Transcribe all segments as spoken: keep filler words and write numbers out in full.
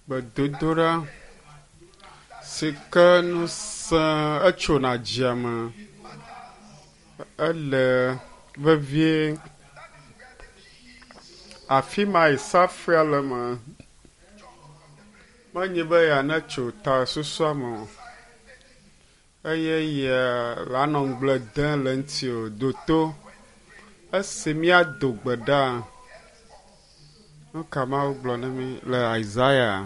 Gbedodoɖa si ke ŋusẽ etsona dziame ele vevie. Afi ma yi safui le me. Menye be yeanetso ta susua me o eye ye lanɔ ŋugble dem le eŋuti o. Ɖo to esi míado gbe ɖa. Nu ka Mawu gblɔ na mí le Isaiah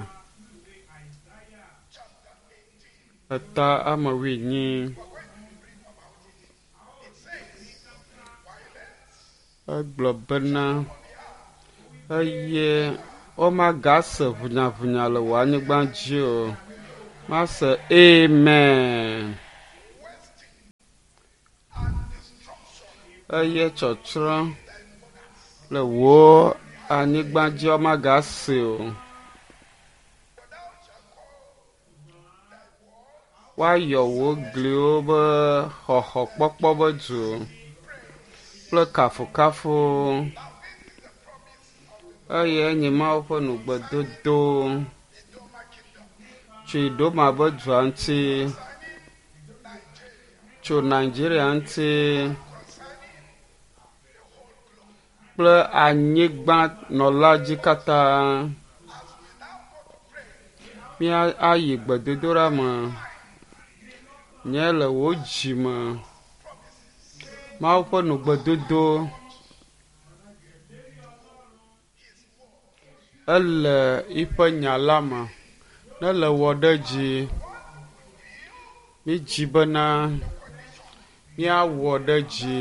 eta ame wuienyi. Egblɔ bena eye womagase ʋunyaʋunya le wò anyigba dzi o. Mase amen. Eye tsɔtsrɔ̃ le wò anyigba dzi womagase o. Woayɔ wò gliwo be xɔxɔkpɔkpɔ be du kple kafukafu eye enye Mawu ƒe nugbedodo tso Idoma be dua ŋuti, tso Nigeria ŋuti kple anyigbanɔla dzi katã. Mía ayi gbedodoɖa me. Nye le wò dzi me. Mawu ƒe nugbedodo ele yiƒe nya la me. Ne le wɔ ɖe dzi, mídzi bena míawɔ ɖe dzi.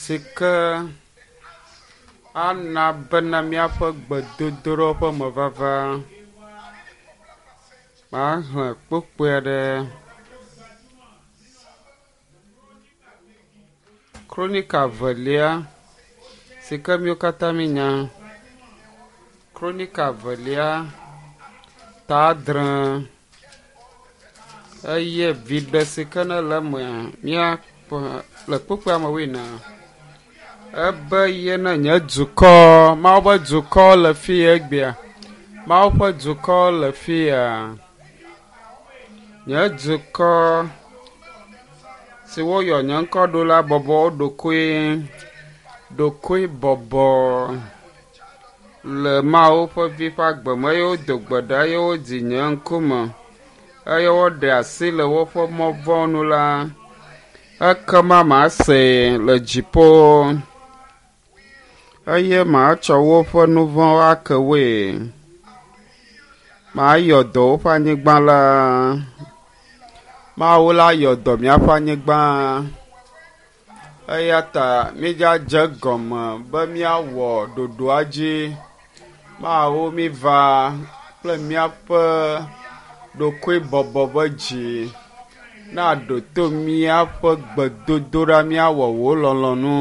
Si ke ana bena míaƒe gbedodoɖa ƒe mevava maxlẽ kpukpui aɖe. Kronika velia si ke míwo katã míenya. Kronika velia ta adre eye viɖe si ke ne le eme míakpɔ le kpukpui ame wuiene. Ebe ye ne nye dukɔ, Mawu ƒe dukɔ le fi egbea. Mawu ƒe dukɔ le fi ya. Nye dukɔ si woyɔ nye ŋkɔ ɖo la bɔbɔ wo ɖokui ɖokui bɔbɔ le Mawu ƒe vi ƒe agbe me eye wodo gbe ɖa eye wodi nye ŋkume eye woɖe asi le woƒe mɔ vɔ̃ nu la, ekema masee le dziƒo eye matsɔ woƒe nu vɔ̃wo ake woe. Mayɔ dɔ woƒe anyigba la. Mawu la yɔ dɔ míaƒe anyigba. Eya ta mídzadze gɔme be míawɔ ɖoɖoa dzi. Mawu míva kple míaƒe ɖokuibɔbɔ ƒe dzi. Na ɖo to míaƒe gbedodoɖa míawɔ wò lɔlɔ̃nu.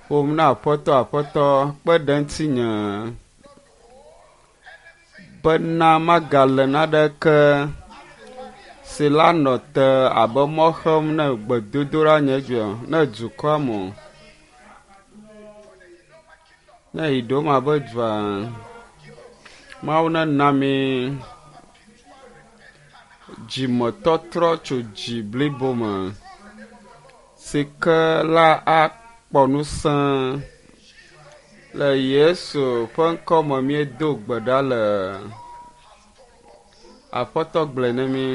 Ƒom na Aƒetɔ Aƒetɔ kpe ɖe ŋutinye bena magale naneke si la nɔ te abe mɔ xem ne gbedodoɖa nye dzia ne dukɔa me o. Ne Idoma be dua, Mawu nena mi dzimetɔtrɔ tso dzi blibo me si ke la akpɔ ŋusẽ le Yesu ƒe ŋkɔ me míedo gbe ɖa le. Aƒetɔ gblɔe ne mí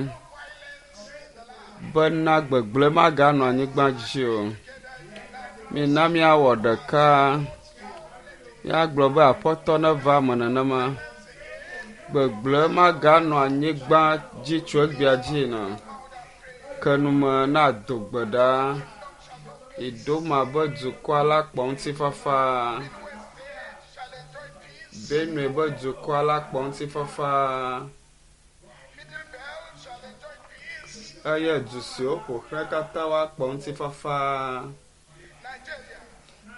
bena gbegblẽ maganɔ anyigba dzi o. Mina míawɔ ɖeka. Míagblɔ be Aƒetɔ neva eme nenema. Gbegblẽ maganɔ anyigba dzi tso egbea dzi yina. Ke nume na do gbe ɖa. Idoma be dukɔa la kpɔ ŋutifafa. Benue be dukɔa la kpɔ ŋutifafa. Eye du siwo ƒo xlã katã woakpɔ ŋutifafa.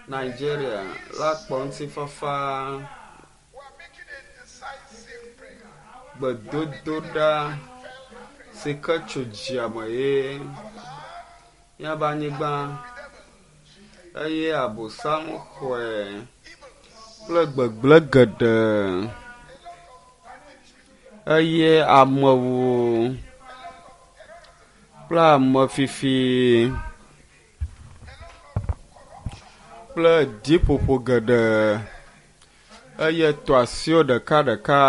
Nigeria la kpɔ ŋutifafa. Gbedodoɖa si ke tso dziame ye míaƒe anyigba Eye Abosam xɔe kple gbegblẽ geɖe. Eye amewo kple amefifi kple dziƒoƒo geɖe eye tɔ asiwo ɖekaɖeka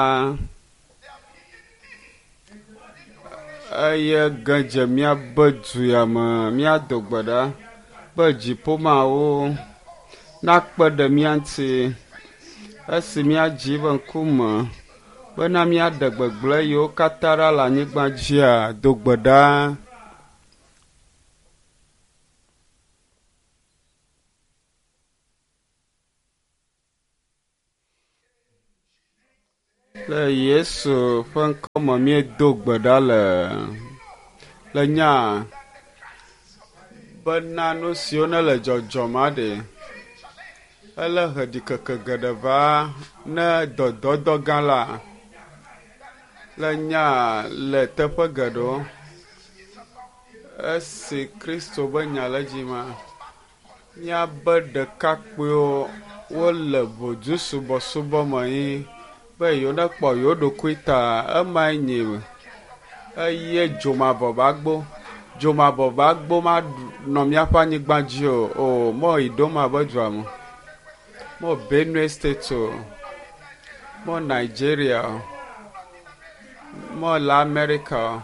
eye ge dze míabe du ya me. Míado gbe ɖa be dziƒomawo nakpe ɖe mía ŋuti esi míadzi be ŋkume bena míaɖe gbegblẽ yiwo katã ɖa le anyigba dzia, do gbe ɖa. Le Yesu ƒe ŋkɔme míedo gbe ɖa le le nya bena nu siwo ne le dzɔdzɔm aɖe ele he ɖikeke geɖe va ne dɔdɔdɔ gã la le nya le teƒe geɖewo. Esi Kristo be nya le edzi ma, míabe ɖekakpuiwo wole ŋodu subɔsubɔ me yi be yewo nekpɔ yewo ɖokui ta. Emae nye eye dzomavɔ ƒe agbo. Dzomavɔ ƒe agbo manɔ míaƒe anyigba dzi o. O mɔ yi ɖom abe dua me. Mɔ Benue State o. Mɔ Nigeria o. Mɔ le America o.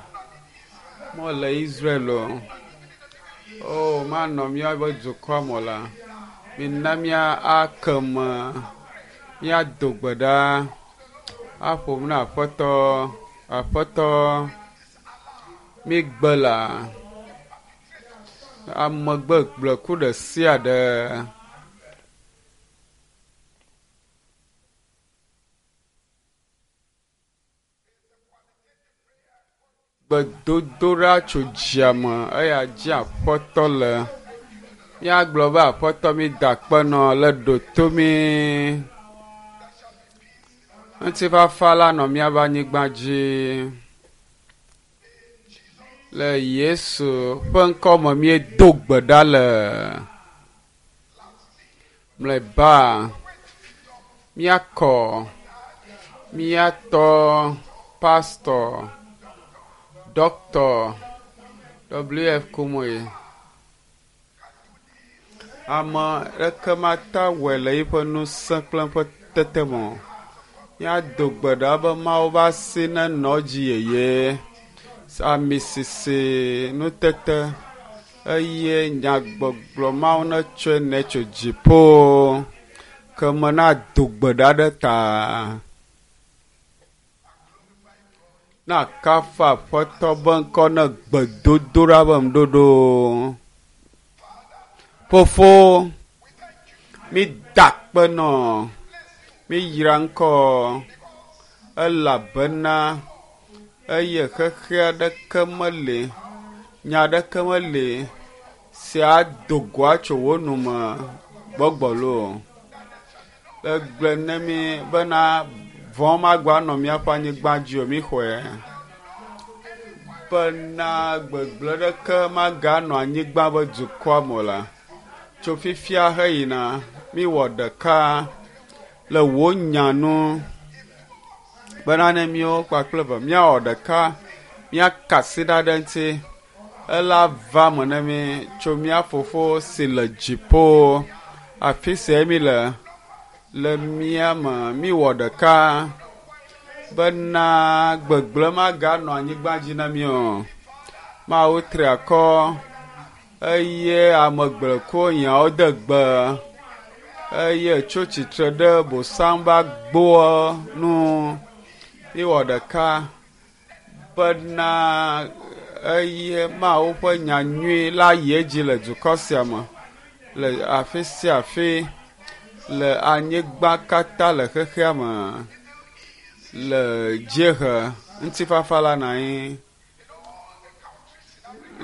Mɔ le Israel o. O manɔ míaƒe dukɔa me o la. Mina mía ake me. Míado gbe ɖa. Aƒo nu na Aƒetɔ. Aƒetɔ, mígbe la amegbegblẽku ɖe sia ɖe. Gbedodoɖa tso dzia me eya dzi Aƒetɔ le. Míagblɔ be Aƒetɔ mída akpe nɔ le ɖo to mí. Ŋutifafa la nɔ míaƒe anyigba dzi. Le Yesu ƒe ŋkɔme míedo gbe ɖa le. Mlɔeba míakɔ míatɔ pastɔ Dɔkta W F Kumuyi. Ame ɖeke mate wɔe le eƒe ŋusẽ kple eƒe tete me o. Míado gbe ɖa be Mawu ƒe asi nenɔ edzi yeye. Ami sisi nutete eye nyagbɔgblɔ Mawu netsɔe nɛ tso dziƒo ke me nado gbe ɖa ɖe ta. Na kafu Aƒetɔ be ŋkɔ ne gbedodoɖa be ŋuɖoɖo. Fofo, mída akpe nɔ, míyra ŋkɔ elabena eye xexe aɖeke meli, nya aɖeke meli si ado go atso wo nu me gbɔgbɔ loo. Egblɔe ne mí bena vɔ̃ magba nɔ míaƒe anyigba dzi o, míxɔe. Bena gbegblẽ ɖeke maganɔ anyigba be dukɔa me o la. Tso fifia heyina, míwɔ ɖeka le wò nya nu bena ne míawo kpakple eve míawɔ ɖeka, míaka asi ɖa ɖe eŋuti. Ela va me ne mí tso mía fofo si le dziƒo, afi sia mi le, le mía me, míwɔ ɖeka bena gbegblẽ maganɔ anyigba dzi na mí o. Mawu tri akɔ eye ame gblẽkuwo nyawo de gbe eye tso tsitre ɖe bosam ƒe agboa nu. Míwɔ ɖeka bena eye Mawu ƒe nya nyui la yi edzi le dukɔ sia me, le afi sia afi, le anyigba katã le xexea me, le dziehe ŋutifafa la nɔ anyi,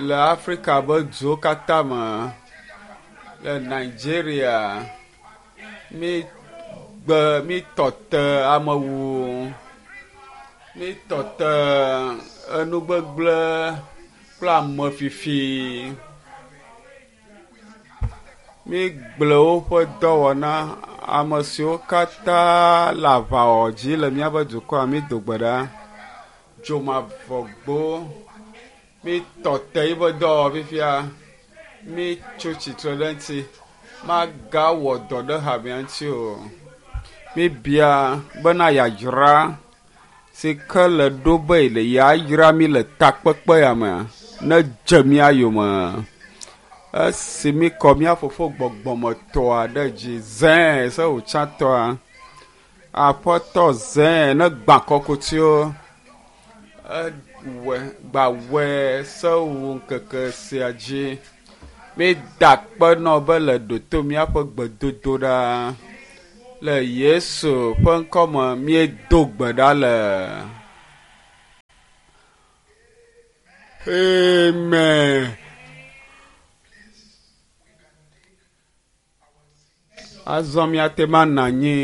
le Afrika ƒe duwo katã me, le Nigeria, mígbe mítɔ te amewuwu, mítɔ te enugbegblẽ kple amefifi. Mígblẽ woƒe dɔwɔna ame siwo katã le aʋawɔ dzi le míaƒe dukɔa mído gbe ɖa. Dzomavɔgbo mítɔ te yiƒe dɔwɔwɔ fifia. Mítso tsitre ɖe eŋuti. Magawɔ dɔ ɖe hamea ŋuti o. Míbia bena yeadzra si ke le ɖo be le yeayra mí le takpekpe ya mea nedze mía yome. Esi míkɔ mía fofo gbɔgbɔmetɔa ɖe dzi zẽe se wòtsãtɔa, aƒetɔ zẽe ne gbã kɔkutiwo ewɔe gbawɔe se wu ŋkeke sia dzi. Mída akpe nɔ be le ɖoto míaƒe gbedodoɖa. Le Yesu ƒe ŋkɔme míedo gbe ɖa le. Amen. Azɔ míate ŋu anɔ anyi.